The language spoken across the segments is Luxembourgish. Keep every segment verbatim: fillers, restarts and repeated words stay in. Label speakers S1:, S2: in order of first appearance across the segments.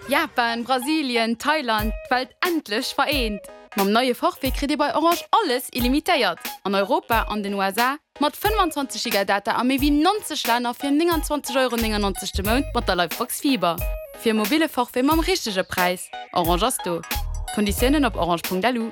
S1: Japan, Brasilien, Thailand, d'Welt endlech vereent! Mam neie Forfait kritt Dir bei Orange alles illimitéiert an Europa, an den U S A, mat fënnefanzwanzeg Giga Data a méi wéi neunzeg Länner fir nénganzwanzeg Euro néngennonzeg de Mount mat der Livebox Fiber. Fir e mobile Forfait mam richtege Präis. Orange ass do. Konditiounen op orange Punkt L U.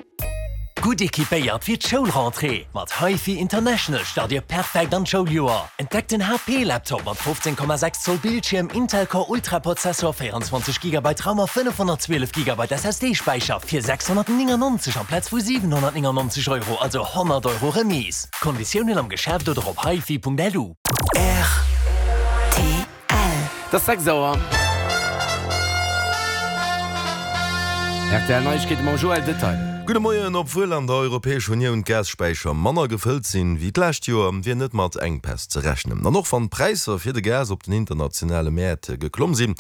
S2: Gutt equipéiert fir d'Schoulrentrée. Mat HiFi International start Dir perfekt an d'Schouljoer. Entdeckt den H P Laptop mat fofzéng Komma sechs Zoll Bildschierm, Intel Core Ultra Prozessor, véierenzwanzeg Gigabyte RAM a fënnefhonnertzwielef Gigabyte S S D-Späicher fir sechshonnertnéngennonzeg amplaz vu siwenhonnertnéngennonzeg Euro, also honnert Euro Remise. Konditiounen am Geschäft oder op hifi Punkt L U.
S3: R T L.
S4: Et ass sechs Auer. R T L Neiegkeete mam Joël Detail.
S5: Gudde Moien. Obwuel an der Europäescher Unioun d'Gasspäicher manner gefëllt sinn wéi d'lescht Joer, wier net mat Enkpäss ze rechnen. An och wann d'Präisser fir de Gas op den internationale Mäert geklomm sinn,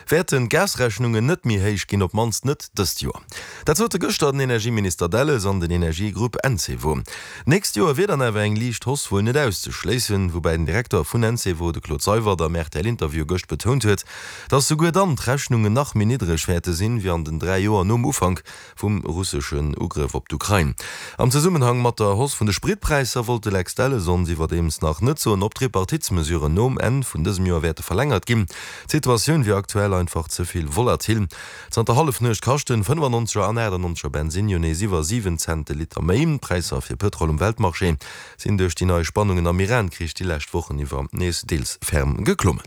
S5: wäerten d'Gasrechnungen net méi héich ginn, op d'mannst net dëst Joer. Dat sote gëschter den Energieminister Delles an den Energiegrupp Encevo. D'nächst Joer wier dann awer eng liicht Hausse wuel net auszeschléissen, woubäi den Direkter vun Encevo, de Claude Seywert, am R T L-Interview gëscht betount huet, datt souguer dann d'Rechnungen nach méi niddreg wäerte sinn, wéi an den dräi Joer nom Ufank vum russeschen Ugrëff op d'Ukrain. Am Zesummenhang mat der Hausse vun de Spritpräisser wollt de Lex Delles ons iwwerdeems nach net soen, ob d'Tripartitsmesuren nom Enn vun dësem Joer wäerte verlängert ginn. D'Situatioun wier aktuell einfach ze vill volatil. Zanter Hallefnuecht kaschten fënnefannonzeger an aachtannonzeger Bensinn jo nees iwwer siwen Cent de Liter méi. D'Präisser fir Pëtrol um Weltmarché sinn duerch déi nei Spannungen am Iran-Krich déi lescht Wochen iwwer nees deels ferm geklommen.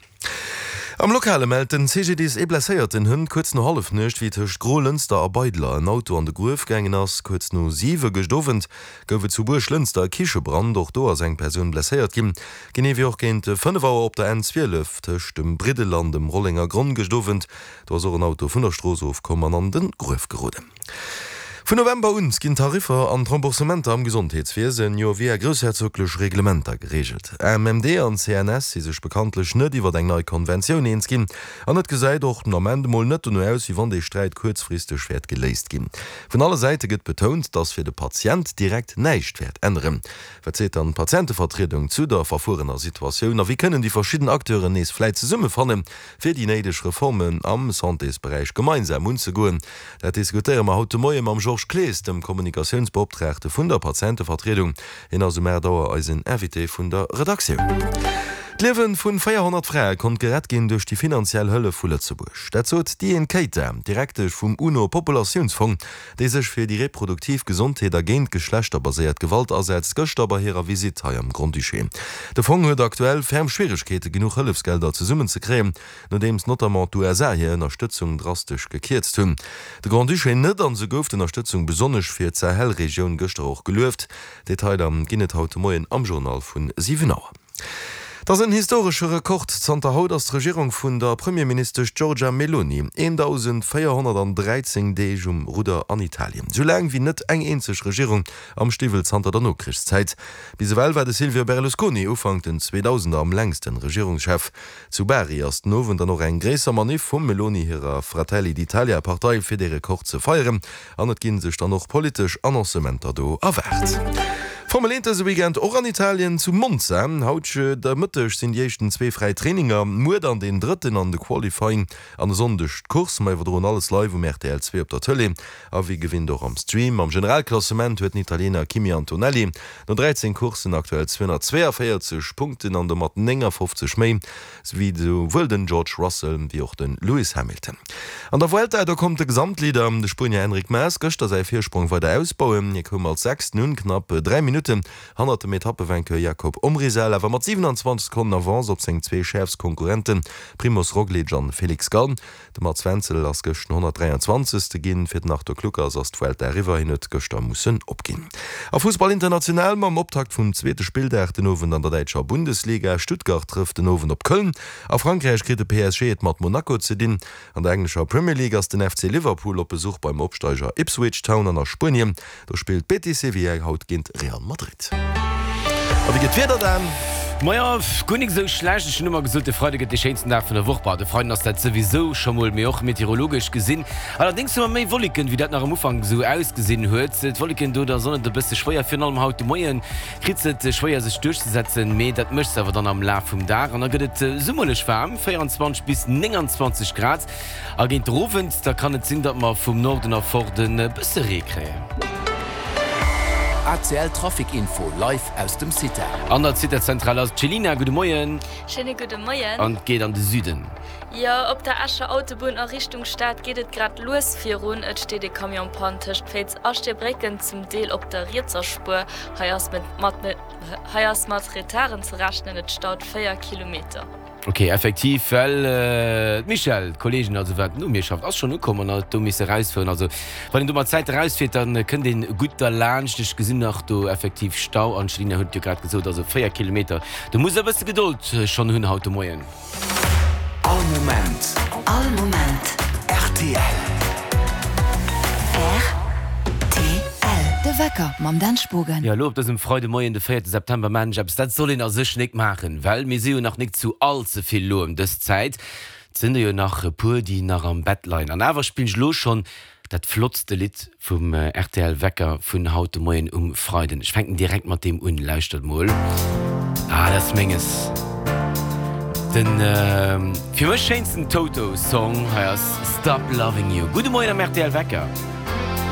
S5: Am Lokale mellt den C G D I S ee Blesséierten hënt kuerz no Hallefnuecht, wéi tëscht Grolënster a Beidler en Auto an de Gruef gaangen ass. Kuerz no siwe gëscht Owend gouf et zu Buerglënster e Kichebrand, och do ass eng Persoun blesséiert ginn. Genee wéi och géint fënnef Auer op der N zwielef tëscht dem Briddel an dem Rollengergronn gëscht Owend, do ass och en Auto vun der Strooss ofkomm an an de Gruef geroden. Vun November un ginn d'Tariffer an d'Remboursementer am Gesondheetswiesen jo via groussherzoglech Reglementer gereegelt. A M M D an C N S si sech bekanntlech net iwwer eng nei Konventioun eens ginn an et gesäit och den Ament mol net dono aus, wéi wann dee Sträit kuerzfristeg wäert geléist ginn. Vun alle Säite gëtt betount, datt fir de Patient direkt näischt wäert änneren. Wat seet dann d'Patientevertriedung zu der verfuerener Situatioun a wéi kënnen déi verschidden Acteuren nees vläit zesummefannen, fir déi néideg Reformen am Santésberäich gemeinsam unzegoen? Dat diskutéiere mer haut de Moie mam Georges Clees, dem Kommunikatiounsbeoptraagte vun der Patientevertriedung. Hien ass um aacht Auer eisen Invité vun der Redaktioun. D'Liewe vu véierhonnert Frae konnt gerett ginn duerch déi finanziell Hëllef vu Lëtzebuerg. Dat sot d'Diane Keita, Direktesch vum UNO-Populatiounsfong, déi sech fir déi reproduktiv Gesondheet a géint geschlechterbaséiert Gewalt asetzt, gëschter bei hirer Visitt hei am Grand-Duché. De Fong huet aktuell ferm Schwieregkeete genuch Hëllefsgelder zesummenzekréien, nodeems notamment d'U S A hir Ënnerstëtzung drastesch gekierzt hunn. De Grand-Duché net, an esou gouf d'Ënnerstëtzung besonnesch fir d'Sahel-Regioun gëschter och gelueft. Detailer ginn et haut de Moien am Journal vun siwen Auer. Dat ass en historesche Rekord. Zanter haut ass d'Regierung vun der Premierministesch Giorgia Meloni dausendvéierhonnertdräizéng Deeg um Rudder an Italien. Sou laang wéi net eng eenzeg Regierung am Stiwwel zanter der Nokrichszäit. Bis ewell war de Silvio Berlusconi Ufank den zweedausender am längsten Regierungschef. Zu Bari ass den Owend dann och eng gréisser Maniff vum Meloni hirer Fratelli d'Italia Partei fir de Rekord ze feieren an et ginn sech dann och politesch Annoncementer do erwaart. Formel eent dëse Weekend och an Italien zu Monza. Haut de Mëtteg sinn déi éischten zwee fräi Traininger, muer dann deen drëtten an de Qualifying an e Sonndeg d'Course. Mer iwwerdroen alles live um R T L zwee op der Tëlee a wéi gewinnt och am Stream. Am Generalklassement huet den Italiener Kimi Antonelli no dräizéng Courssen aktuell zweehonnertzweeënvéierzeg Punkten an domat néngafofzeg méi wéi souwuel den George Russell wéi och de Lewis Hamilton. An der Vuelta, do konnt de Gesamtleader, de Spuenier Enric Mas, gëschter säi Virsprong weider ausbauen. Hie koum als Sechsten un, knapp dräi Minutten hannert dem Etappevainqueur Jakob Omrisal, awer mat siwenanzwanzeg Sekonnen Avance op seng zwee schäerfst Konkurrenten Primoz Roglic an Felix Gall. De Mats Wenzel ass gëscht honnertdräianzwanzegste ginn. Fir den Arthur Kluckers ass d'Vuelta eriwwer, hien huet gëschter mussen opginn. A Fussball international mam Optakt vum zweete Spilldag den Owend an der däitscher Bundesliga. Stuttgart trëfft den Owend op Köln. A Frankräich kritt de P S G et mat Monaco ze dinn. An der englescher Premier League ass den F C Liverpool op Besuch beim Opsteiger Ipswich Town an a Spuenien, do spillt Betis Sevilla haut géint Real Madrid. A wéi geet d'Wieder dann?
S4: Majo, guer nik esou schlecht. Ech hunn ëmmer gesot, de Freide gëtt dee schéinsten Dag vun der Woch. Bah, de Freiden ass dat souwisou scho mol, mee och meteorologesch gesinn. Allerdéngs hu mer méi Wolleken, wéi dat nach am Ufank esou ausgesinn huet. D'Wolleken do der Sonn et e bësse schwéier, virun allem haut de Moie kritt se et schwéier sech duerchzesetzen, mee dat mécht se awer dann am Laf vum Dag an da gëtt et summerlech waarm, véierundzwanzeg bis nénganzwanzeg Grad. A géint den Owend, da kann et sinn, datt mer vum Norden erfort e bësse Ree kréien.
S3: A C L Trafic Info live aus dem CITA.
S4: An der CITA-Zentral ass d'Chelina. Gudde Moien.
S6: Schéine gudde Moien.
S4: An et geet an de Süden.
S6: Jo, op der Escher Autobunn a Richtung Stad geet et grad lues virun. Et steet e Camion Panne tëscht Féiz a Stierbrécken, zum Deel op der rietser Spuer. Hei ass mat hei ass mat Retarden ze rechnen, et staut véier Kilometer.
S4: Ok, effektiv, well d'Michèle, d'Kolleegin also wat no mir schafft, ass schonn ukomm an huet do misse erausfueren. Also wann een do mat Zäit erausfiert, da kënnt een gutt derlaanscht. Ech gesinn nach do effektiv Stau an d'Chelina huet et jo grad gesot, also véier Kilometer, do muss e bësse Gedold schonn hunn haut de Moien.
S3: All Moment.
S7: All Moment.
S3: Rtl.
S7: Rtl. De Wecker mam Dan Spogen.
S4: Jo, elo op dësem Freidemoien, de véierte September, maachen ech eppes, dat soll een a sech nik maachen, well mir si jo nach nik zu all ze vill elo ëm dës Zäit. Et sinn der jo nach e puer, déi nach am Bett leien. An awer spillen ech elo schonn dat flottste Lidd vum rtl Wecker vun haut de Moien um Freiden. Ech fänken direkt mat deem un, lauschtert mol. Ah, dat ass menges. Den fir mech schéinsten Toto Song, hei ass Stop Loving You. Gudde Moien am rtl Wecker.